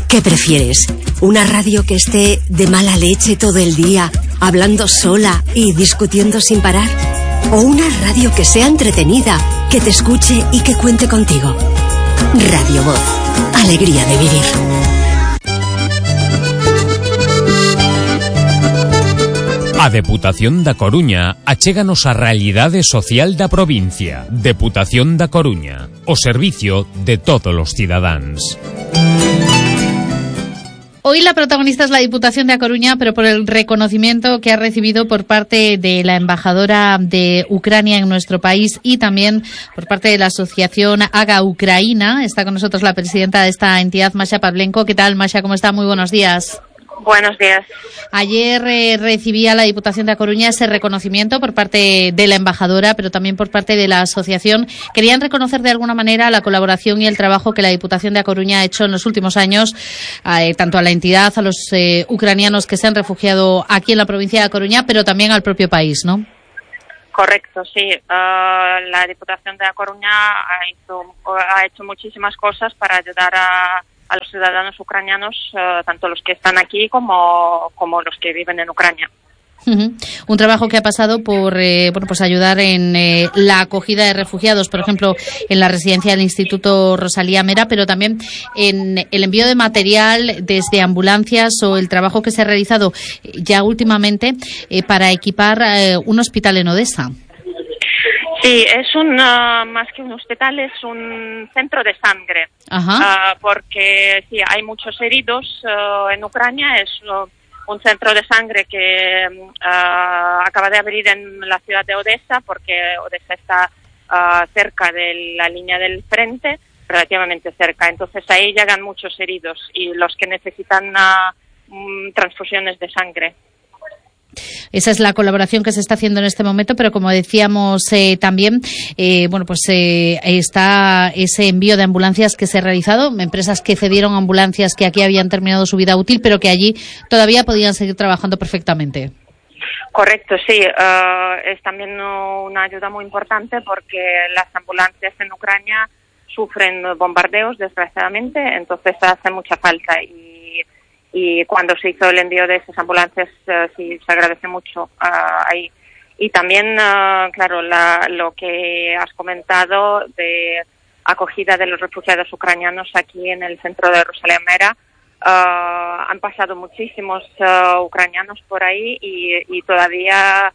¿Qué prefieres? ¿Una radio que esté de mala leche todo el día, hablando sola y discutiendo sin parar? ¿O una radio que sea entretenida, que te escuche y que cuente contigo? Radio Voz. Alegría de vivir. A Deputación da Coruña achéganos a realidade social da provincia. Deputación da Coruña, o servicio de todos los cidadáns. Hoy la protagonista es la Diputación de A Coruña, pero por el reconocimiento que ha recibido por parte de la embajadora de Ucrania en nuestro país y también por parte de la asociación Haga Ucraina. Está con nosotros la presidenta de esta entidad, Masha Pavlenko. ¿Qué tal, Masha? ¿Cómo está? Muy buenos días. Buenos días. Ayer recibía la Diputación de A Coruña ese reconocimiento por parte de la embajadora, pero también por parte de la asociación. Querían reconocer de alguna manera la colaboración y el trabajo que la Diputación de A Coruña ha hecho en los últimos años, tanto a la entidad, a los ucranianos que se han refugiado aquí en la provincia de A Coruña, pero también al propio país, ¿no? Correcto, sí. La Diputación de A Coruña ha hecho muchísimas cosas para ayudar a los ciudadanos ucranianos, tanto los que están aquí como los que viven en Ucrania. Un trabajo que ha pasado por pues ayudar en la acogida de refugiados, por ejemplo, en la residencia del Instituto Rosalía Mera, pero también en el envío de material desde ambulancias o el trabajo que se ha realizado ya últimamente para equipar un hospital en Odesa. Sí, es más que un hospital, es un centro de sangre. Porque sí, hay muchos heridos en Ucrania. Es un centro de sangre que acaba de abrir en la ciudad de Odesa, porque Odesa está cerca de la línea del frente, relativamente cerca. Entonces ahí llegan muchos heridos y los que necesitan transfusiones de sangre. Esa es la colaboración que se está haciendo en este momento, pero como decíamos también, está ese envío de ambulancias que se ha realizado, empresas que cedieron ambulancias que aquí habían terminado su vida útil, pero que allí todavía podían seguir trabajando perfectamente. Correcto, sí. Es también una ayuda muy importante porque las ambulancias en Ucrania sufren bombardeos, desgraciadamente, entonces hace mucha falta y cuando se hizo el envío de esas ambulancias sí se agradece mucho ahí. Y también, claro, lo que has comentado de acogida de los refugiados ucranianos aquí en el centro de Rosalía Mera, han pasado muchísimos ucranianos por ahí y todavía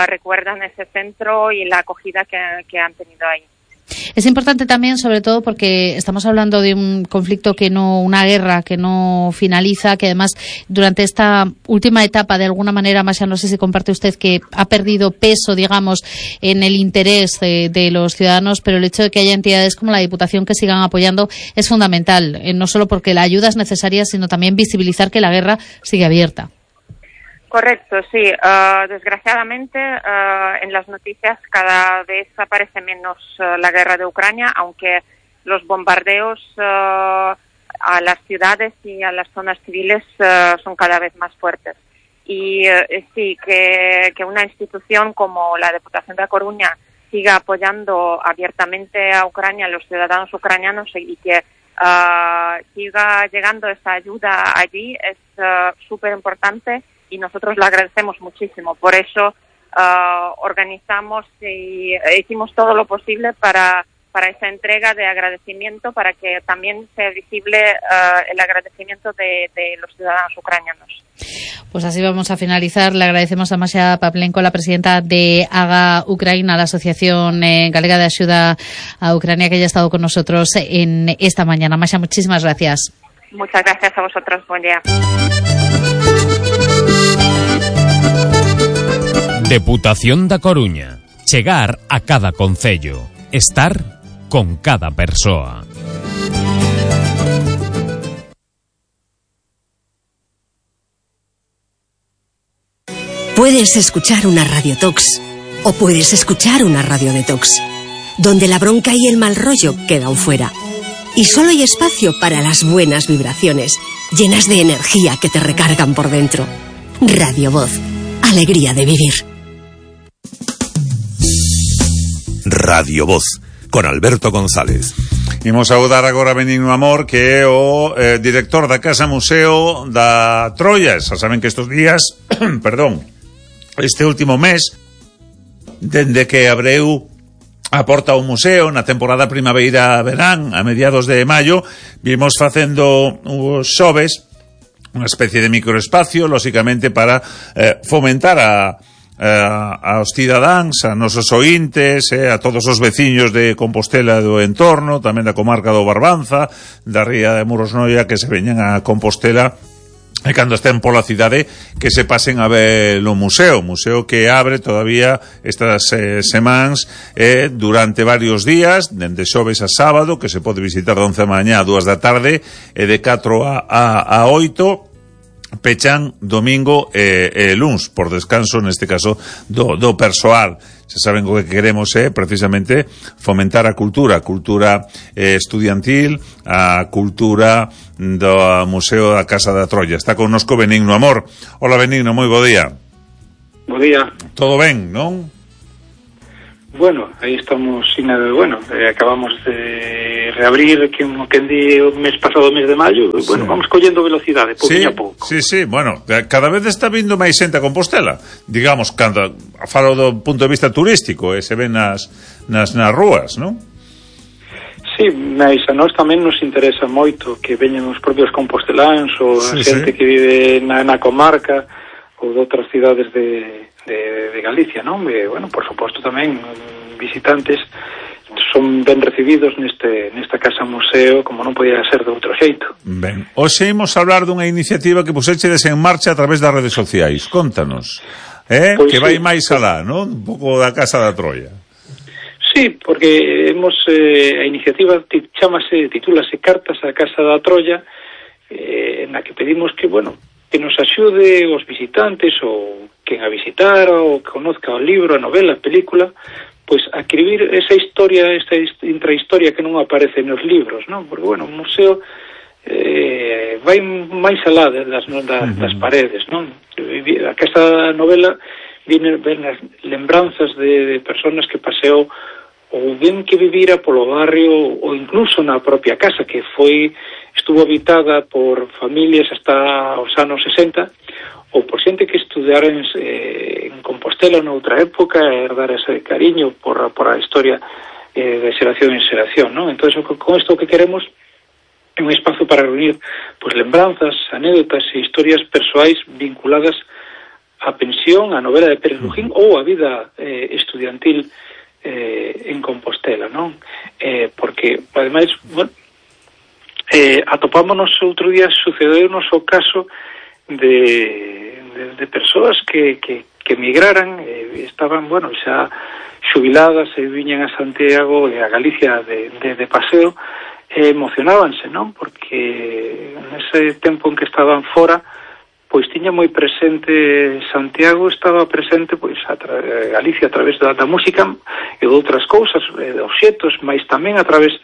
recuerdan ese centro y la acogida que han tenido ahí. Es importante también, sobre todo porque estamos hablando de un conflicto una guerra que no finaliza, que además durante esta última etapa, de alguna manera, Masha, no sé si comparte usted, que ha perdido peso, digamos, en el interés de los ciudadanos, pero el hecho de que haya entidades como la Diputación que sigan apoyando es fundamental, no solo porque la ayuda es necesaria, sino también visibilizar que la guerra sigue abierta. Correcto, sí. Desgraciadamente, en las noticias cada vez aparece menos la guerra de Ucrania, aunque los bombardeos a las ciudades y a las zonas civiles son cada vez más fuertes. Y sí, que una institución como la Deputación de A Coruña siga apoyando abiertamente a Ucrania, a los ciudadanos ucranianos, y que siga llegando esa ayuda allí es súper importante. Y nosotros lo agradecemos muchísimo. Por eso organizamos y hicimos todo lo posible para esa entrega de agradecimiento, para que también sea visible el agradecimiento de los ciudadanos ucranianos. Pues así vamos a finalizar. Le agradecemos a Masha Pavlenko, la presidenta de Haga Ucraina, la Asociación Galega de Ayuda a Ucrania, que haya estado con nosotros en esta mañana. Masha, muchísimas gracias. Muchas gracias a vosotros. Buen día. Deputación da Coruña. Chegar a cada concello. Estar con cada persoa. Puedes escuchar una radiotox o puedes escuchar una radiodetox, donde la bronca y el mal rollo quedan fuera. Y solo hay espacio para las buenas vibraciones, llenas de energía que te recargan por dentro. Radio Voz. Alegría de vivir. Radio Voz, con Alberto González. Imos saudar agora a Benigno Amor, que é o director da Casa Museo da Troia. Xa saben que estes días, perdón, este último mes, dende que abreu a porta ao museo na temporada primavera-verán, a mediados de maio, vimos facendo os xoves unha especie de microespacio, lóxicamente para fomentar aos cidadáns, a nosos ointes, a todos os veciños de Compostela do entorno, tamén da comarca do Barbanza, da ría de Muros Noia, que se veñan a Compostela e cando estén pola cidade que se pasen a ver o museo que abre todavía estas semanas durante varios días, dende xoves a sábado, que se pode visitar de 11 da mañá a 2 da tarde e de 4 a 8, pechan domingo e luns, por descanso neste caso do persoal. Se saben o que queremos precisamente fomentar a cultura estudiantil, a cultura do Museo da Casa da Troia. Está connosco Benigno Amor. Hola Benigno, moi bo día. Bo día. Todo ben, non? Bueno, aí estamos acabamos de reabrir que di o mes pasado, o mes de maio, sí. Vamos collendo velocidade, pouquinho a pouco. Sí, bueno, cada vez está vindo máis xente a Compostela, digamos, cando falo do punto de vista turístico, se ven nas rúas, non? Sí, mas a nós tamén nos interesa moito que veñen os propios composteláns ou a xente que vive na comarca ou de outras cidades de Galicia, non? Por suposto tamén visitantes son ben recibidos nesta casa museo, como non podía ser de outro xeito. Ben, hoxe imos hablar dunha iniciativa que pusechedes en marcha a través das redes sociais. Contanos, pois que vai máis alá, non? Un pouco da Casa da Troia. Sí, porque a iniciativa titúlase Cartas á Casa da Troia, na que pedimos que nos axude os visitantes ou quen a visitar ou que conozca o libro, a novela, a película, pois a escribir esa historia, esta intrahistoria que non aparece nos libros, non? Porque, o museo vai máis alá das paredes, non? A Casa da Novela ven as lembranzas de personas que paseou ou ben que vivira polo barrio ou incluso na propia casa, que estuvo habitada por familias hasta os anos 60, ou por xente que estudara en Compostela noutra época e herdar ese cariño por a historia de xeración en xeración, non? Entón, con isto que queremos é un espazo para reunir lembranzas, anécdotas e historias persoais vinculadas á pensión, á novela de Pérez Lujín ou á vida estudiantil en Compostela, non? Porque, ademais, atopámonos outro día, sucedeunos o caso de persoas que emigraran, estaban, xa xubiladas e viñan a Santiago e a Galicia de paseo, emocionábanse, non? Porque nese tempo en que estaban fora, pois tiña moi presente Santiago, estaba presente Galicia a través da música e de outras cousas, de obxetos, mas tamén a través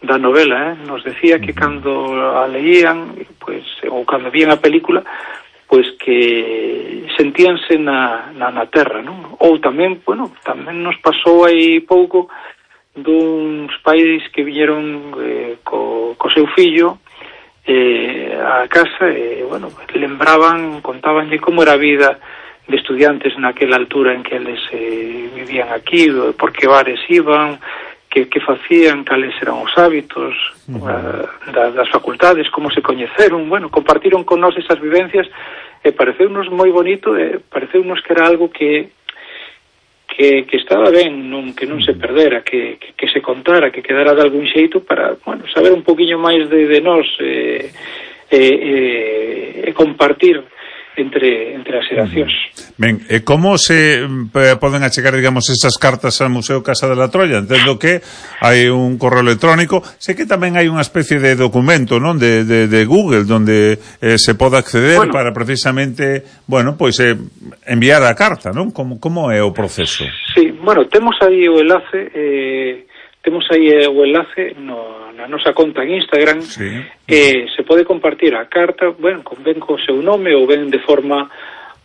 da novela, nos decía que cando a leían, ou cando vían a película, que sentíanse na terra, non? Ou tamén, tamén nos pasou aí pouco duns pais que viñeron co seu fillo a casa e, contabanlle como era a vida de estudiantes naquela altura en que eles vivían aquí, por que bares iban, que facían, cales eran os hábitos das facultades, como se coñeceron, compartiron con nós esas vivencias e pareceunos moi bonito, pareceunos que era algo que estaba ben, que non se perdera, que se contara, que quedara de algún xeito para, saber un poquinho máis de nós e compartir entre as xeracións. Ben, e como se poden achegar, digamos, esas cartas ao Museo Casa da Troia? Entendo que hai un correo electrónico, sei que tamén hai unha especie de documento, non, de Google, onde se pode acceder para precisamente, enviar a carta, non? Como é o proceso? Sí, temos aí o enlace, na nosa conta en Instagram, se pode compartir a carta, ben co seu nome ou ben de forma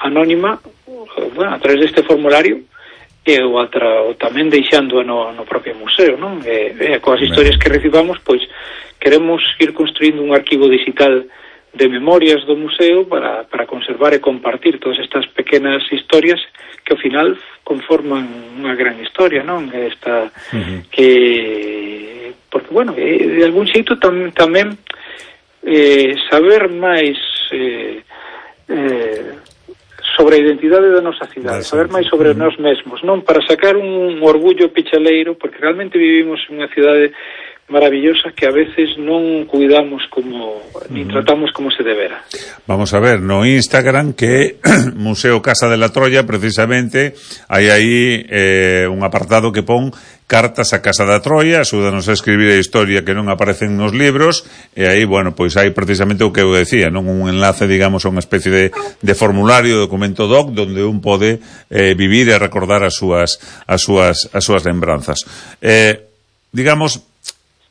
anónima, a través deste formulario, e o tamén deixando no propio museo, non? Coas historias que recibamos, pois queremos ir construindo un arquivo digital de memorias do museo para conservar e compartir todas estas pequenas historias que ao final conforman unha gran historia, non? Esta que porque bueno, de algún xeito tamén saber máis sobre a identidade da nosa cidade, saber máis sobre nós mesmos, non? Para sacar un orgullo pichaleiro, porque realmente vivimos en unha cidade maravillosa que a veces non cuidamos como nin tratamos como se debera. Vamos a ver, no Instagram que Museo Casa de la Troya, precisamente, hai aí un apartado que pon cartas a Casa da Troya, axúdanos a escribir a historia que non aparecen nos libros, e aí, bueno, pois hai precisamente o que eu decía, non? Un enlace, digamos, a unha especie de formulario, documento doc, donde un pode vivir e recordar as súas lembranzas. Digamos,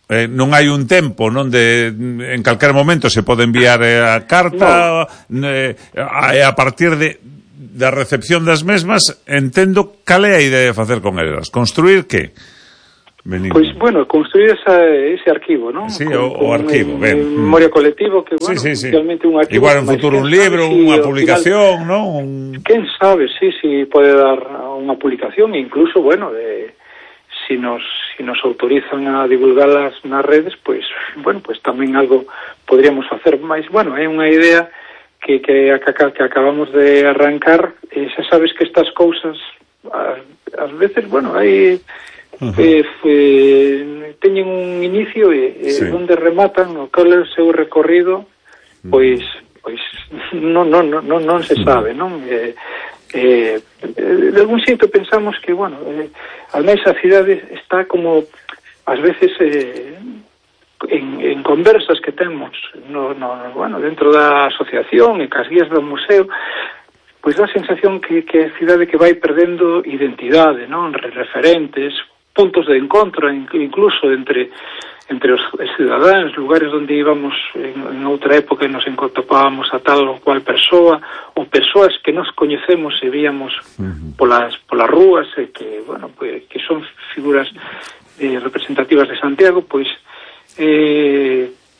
non hai un tempo, non, de en calquer momento se pode enviar a carta, a partir da recepción das mesmas, entendo cal é a idea de facer con elas. Construir que? Benigno. Pois, bueno, construir ese arquivo, non? Sí, o arquivo, ben. Memoria colectivo, que, bueno, sí. realmente un arquivo... Igual en futuro un libro, unha publicación, non? Quen sabe, sí, pode dar unha publicación, incluso, bueno, si nos autorizan a divulgalas nas redes, pois, bueno, pois tamén algo podríamos facer máis. Bueno, é unha idea que acabamos de arrancar, e xa sabes que estas cousas ás veces, bueno, hai teñen un inicio e onde rematan, o cal é o seu recorrido, pois non se sabe, non? De algún xeito pensamos que, bueno, al menos a cidade está como ás veces en conversas que temos bueno, dentro da asociación e cas guías do museo, pois dá a sensación que a cidade que vai perdendo identidade, non? Referentes, puntos de encontro incluso entre os cidadáns, lugares onde íbamos en outra época e nos topábamos a tal ou cual persoa, ou persoas que nos coñecemos e víamos polas rúas, e que, bueno, pues, que son figuras representativas de Santiago, pois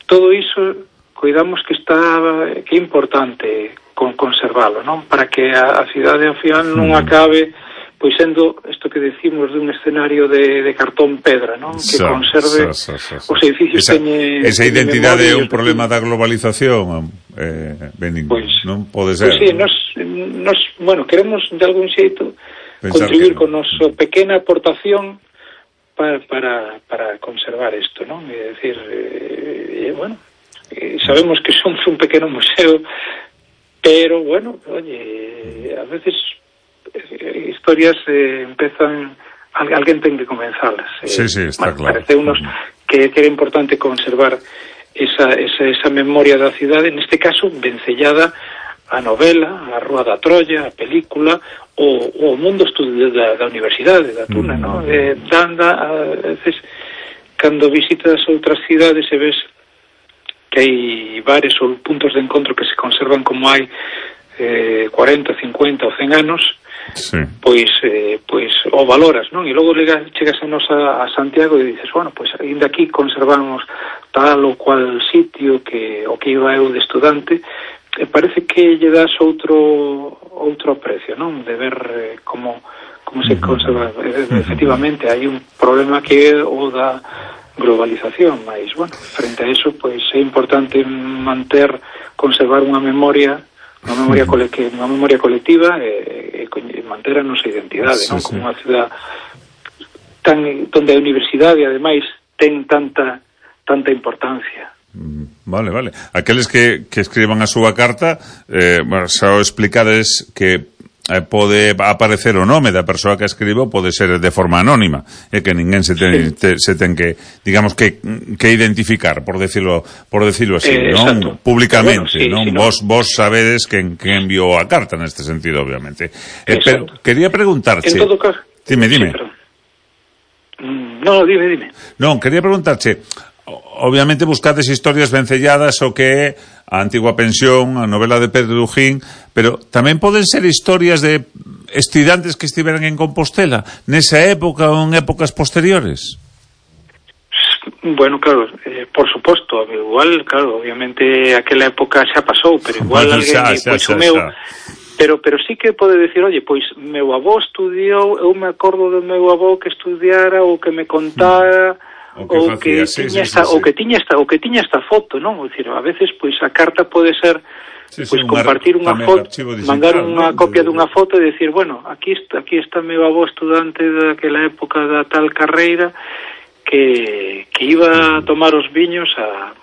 todo iso cuidamos que é importante conservalo, non? Para que a cidade ao final non acabe pois sendo isto que decimos dun escenario de cartón pedra, non? Que conserve os edificios esa identidade é un problema da globalización, Benigno, pois, non pode ser. Pois sí, nos bueno, queremos de algún xeito contribuir con nosa pequena aportación para conservar isto, non? É dicir, bueno, sabemos que somos un pequeno museo, pero bueno, oye, a veces historias empezan, alguén ten que comenzalas. Sí, está claro. Parece unos que era importante conservar esa memoria da cidade, neste caso vencellada a novela, a Rúa da Troya, a película, o mundo estudio da universidade, da Tuna, non? A veces, cando visitas outras cidades e ves que hai bares ou puntos de encontro que se conservan como hai 40, 50 ou 100 anos, sí. Pois o valoras, non? E logo chegas a Santiago e dices, bueno, pois ainda aquí conservamos tal ou cual sitio que iba eu de estudante, e parece que lle das outro aprecio, non? De ver como se conserva. Efectivamente, hai un problema que é o da globalización, mas, bueno, frente a eso, pois é importante conservar unha memoria colectiva e manter a nosa identidade, non? Como unha cidade donde a universidade, ademais, ten tanta importancia. Vale. Aqueles que escriban a súa carta, xa o explicades que pode aparecer o nome da persoa que escribo, pode ser de forma anónima, que ninguén se ten que, digamos, que identificar, por decirlo así, non? Públicamente, bueno, non? Vos sabedes quen enviou a carta neste sentido, obviamente. Pero quería preguntarche... En todo caso... Dime. Sí, no, dime. Non, quería preguntarche... Obviamente buscades historias vencelladas o que é a Antigua Pensión, a novela de Pedro Dujín, pero tamén poden ser historias de estudantes que estiveran en Compostela nesa época ou en épocas posteriores? Bueno, claro, por suposto, igual, claro, obviamente aquela época xa pasou, pero igual alguén, pois o meu, pero sí que pode decir, oye, pois meu avó estudiou, eu me acordo do meu avó que estudiara ou que me contara ou que tiña esta foto, non? Ou dicir, a veces pois a carta pode ser pois compartir unha foto, mandar unha copia dunha foto e decir, bueno, aquí está meu avó estudante daquela época da tal carreira que iba a tomar os viños a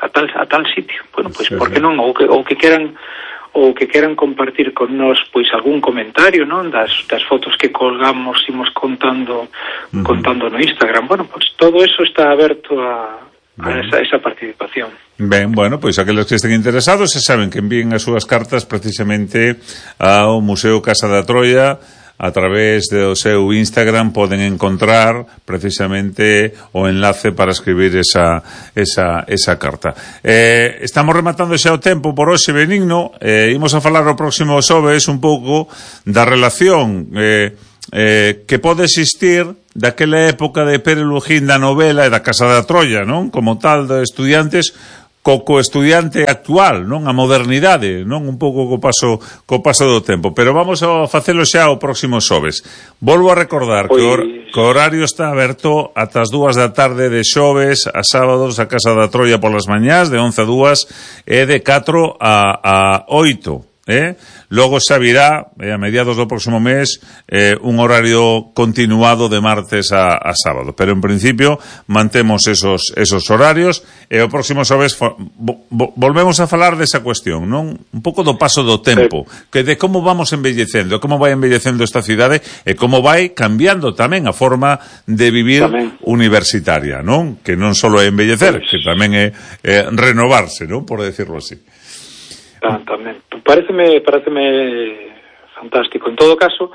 tal sitio. Bueno, pois por que non, ou que queran compartir con nós pois algún comentario, non, das fotos que colgamos, imos contando no Instagram. Bueno, pois todo eso está aberto a esa participación. Ben, bueno, pois aqueles que estén interesados se saben que envíen as súas cartas precisamente ao Museo Casa da Troia. A través do seu Instagram poden encontrar precisamente o enlace para escribir esa carta. Estamos rematando xa o tempo por hoxe, Benigno. Imos a falar o próximo xoves un pouco da relación que pode existir daquela época de Pere Lujín da novela e da Casa da Troia, non? Como tal, de estudiantes co estudiante actual, non? A modernidade, non? Un pouco co paso do tempo, pero vamos a facelo xa o próximo xoves. Volvo a recordar que o horario está aberto ata as 2 da tarde de xoves a sábados a Casa da Troia polas mañás de 11 a 2 e de 4 a 8. Logo xa virá a mediados do próximo mes un horario continuado de martes a sábado, pero en principio mantemos esos horarios e o próximo xoves volvemos a falar desa cuestión, non? Un pouco do paso do tempo, que de como vamos envellecendo, como vai envellecendo esta cidade e como vai cambiando tamén a forma de vivir universitaria, non? Que non só é envellecer, que tamén é renovarse, non? Por decirlo así. Tamén. Pareceme fantástico. En todo caso,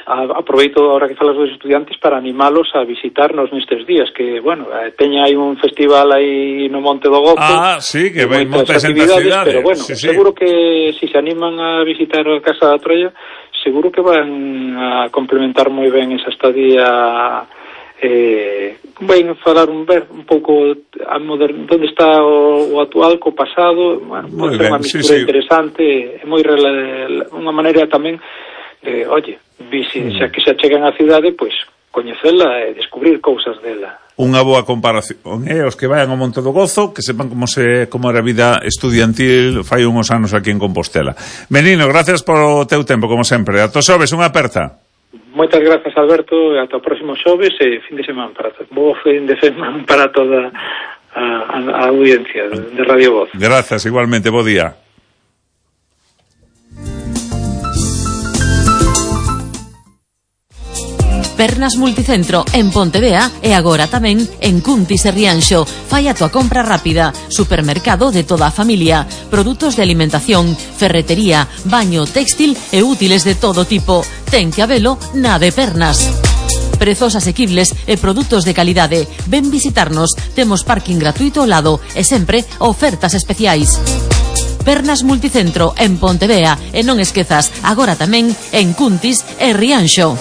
aproveito ahora que falas dos estudiantes para animalos a visitarnos nestes días, que, bueno, teña aí un festival aí no Monte do Gozo. Sí, que vai moitas actividades, pero bueno, seguro que si se animan a visitar a Casa da Troia, seguro que van a complementar moi ben esa estadía. Vai falar un pouco onde está o actual co pasado. Bueno, pode ser unha mistura interesante, é moi unha maneira tamén de, xa que se achegan á cidade, pois coñecela e descubrir cousas dela. Unha boa comparación, os que vayan ao Monte do Gozo, que sepan como era a vida estudiantil fai uns anos aquí en Compostela. Benigno, gracias polo teu tempo, como sempre. Ata xoves, unha aperta. Moitas grazas, Alberto, e ata o próximo xoves e fin de semana bo fin de semana para toda a audiencia de Radio Voz. Grazas, igualmente, bo día. Pernas Multicentro en Pontevea e agora tamén en Cuntis e Rianxo. Fai a tua compra rápida. Supermercado de toda a familia. Produtos de alimentación, ferretería, baño, textil e útiles de todo tipo. Ten que habelo na de Pernas. Prezos asequibles e produtos de calidade. Ven visitarnos. Temos parking gratuito ao lado e sempre ofertas especiais. Pernas Multicentro en Pontevea e non esquezas agora tamén en Cuntis e Rianxo.